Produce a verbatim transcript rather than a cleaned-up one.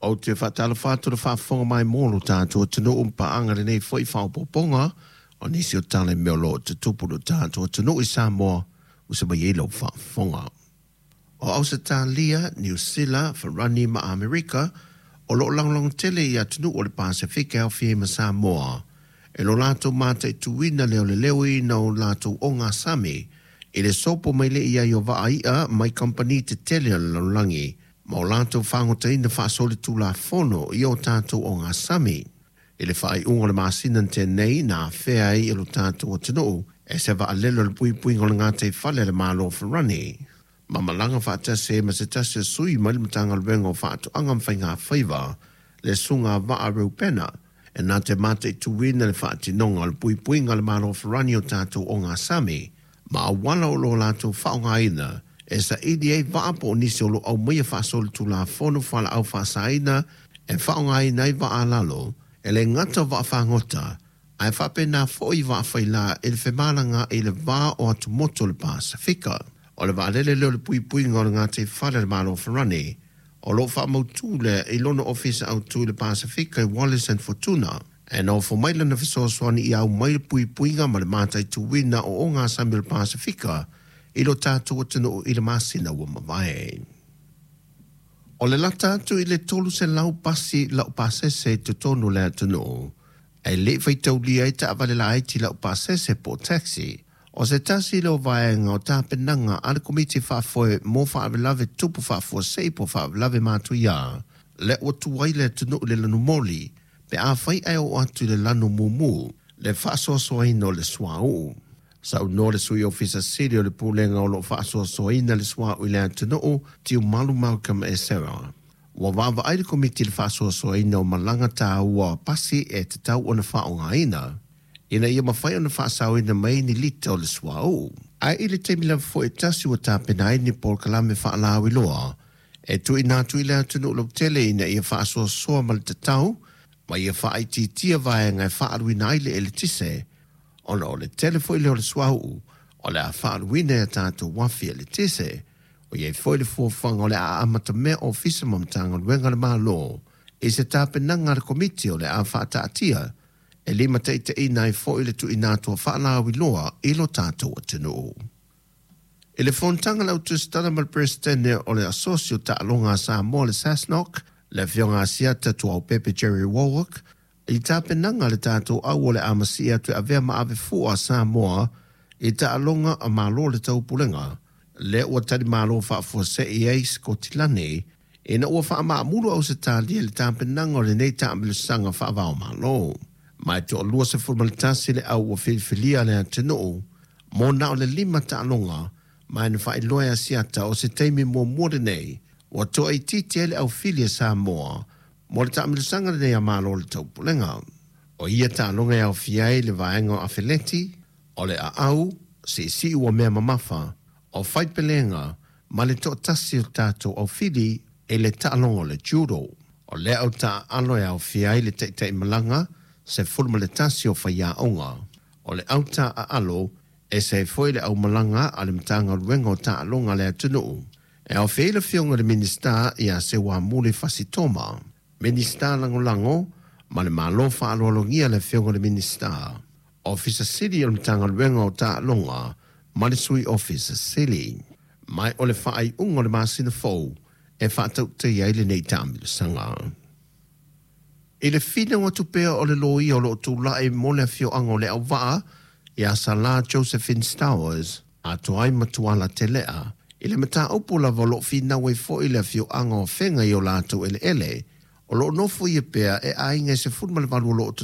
Ou te faatalofa atu i le faafofoga mai mo lo tatou atunuu ma paaga lenei foi faaopoopoga o nisi o tala i mea o lo o tutupu i lo tatou atunuu i Samoa ua se mai ai lau faafofoga. O Ausetalia, Niu Sila, Farani ma Amerika o lo o lagolago tele i atunuu o le Pasefika e aofia ai ma Samoa e lo latou mataituina le leoleoina o latou ogasami i le sopo mai lea i ai o vaa i'a mai kamupani tetele o le lalolagi ma o latou fagotaina faasolitulafono i o tatou ogasami. I le faaiuga o le masina na tea nei na afea ai e lo tatou atunuu e se vaalele o le puipuiga o le gataifale a le Malo o Farani ma malaga faatasi ai ma se tasi o sui mai le Matagaluega o Faatoaga ma Faigafaiva le Susuga Vaa Reupena e na te mataituina le faatinoga o le puipuiga a le Malo o Farani o tatou ogasami ma auala o lo o latou faaaogaina e saili ai vaa po o nisi o lo o aumaia faasolitulafono fualaau faasaina e faaaogaina ai vaa a lalo e le gata o vaafagota ae faapena foi vaafaila i le femalagaai i le va o atumotu o le Pasefika. O le vaalele lea o le puipuiga o le gataifale a le Malo o Farani o lo o faamautu lea i lona ofisa autu i le Pasefika i Wallis and Futuna e nofo mai lana fesoasoani ia aumai le puipuiga ma le mataituina o ogasami o le Pasefika i lo tatou atunuu i le masina ua mavae. O le lata atu i le tolu selau pasi laupasese i totonu o le atunuu, ae le i faitaulia ai taavale laiti laupasese po o taxi. O se tasi lea o vaega o tapenaga a le Komiti Faafoe mo Faalavelave Tutupu Faafuasei po o Faalavelave Matuia, lea ua tu ai le atunuu i le lanumoli pe afai ae oo atu i le lanu mumu le faasoasoaina o le suauu. Saunoa le Sui Ofisa Sili o le Pulega o lo o faasoasoaina le suauu i le atunuu, Tiumalu Malcolm Esera. Ua vaavaai le Komiti i le faasoasoaina o malaga taua pasi e tatau ona faaaogaina ina ia mafai ona faasaoina mai ni lita o le suauu. Ae i le taimi lava foi e tasi ua tapena ai ni polokalame faalauiloa e tuuina atu i le atunuu lautele ina ia faasoasoa ma le tatau ma ia faaitiitia vaega e faaaluina ai le eletise, ona o le tele foi lea o le suauu o le a faaaluina i a tatou uafi eletise. O i ai foi le fuafuaga o le a amatamea ofisa ma Matagaluega a le Malo i se tapenaga a le Komiti o le a faataatia e limataitaiina ai foi le tuuina atu o faalauiloa i lo tatou atunuu. I le fonotaga a le Au Tusitala ma le Peresetene o le Asosi o Taaloga a Samoa le SASNOC, le Afioga Asiata Tuaopepe Jerry Warwick, i tapenaga a le tatou au o le a masii atu e avea ma avefua a Samoa i taaloga a Malo o le Taupulega, lea ua talimalo faafuasei ai Sikotilani ina ua faamaamulu Ausetalia i le tapenaga o lenei taamilosaga faava-o-Malo. Ma e toalua sefulu ma le tasi le au ua filifilia le atunuu mo na o le lima taaloga, ma e na faailoa e Asiata o se taimi muamua lenei ua toaitiiti ai le aufili a Samoa mo le taamilosaga lenei a Malo o le Taupulega. O ia taaloga e aofia ai le vaega o afeleti, o le aau, siisii ua mea mamafa, o faipelega ma le toatasi o tatou aufili i le taaloga o le judo. O lea au taaalo e aofia ai le taitaimalaga sefulu ma le tasi o faiaoga. O le au taaalo e ese ai foi le aumalaga a le Matagaluega o Taaloga a le atunuu. E aofia ai le Afioga i le Minisita ia Seuamuli Fasi Toma, Minisita Lagolago ma le Malo faaaloalogia le Afioga i le Minisita, Ofisa Sili o le Matagaluega o Taaloga ma le Sui Ofisa Sili. Ma o le faaiuga o le masina fou e faatautaia ai lenei taamilosaga. I le finau atu pea o le loia o lo o tulai mo le afioaga o Leauvaa ia Sala Josephine Stowers, atoa ai ma Tuala Telea, i le mataupu lava o lo o finau ai foi le afioaga o Afega i o latou eleele o lo o nofoia pea e aiga e sefulu ma le valu o lo o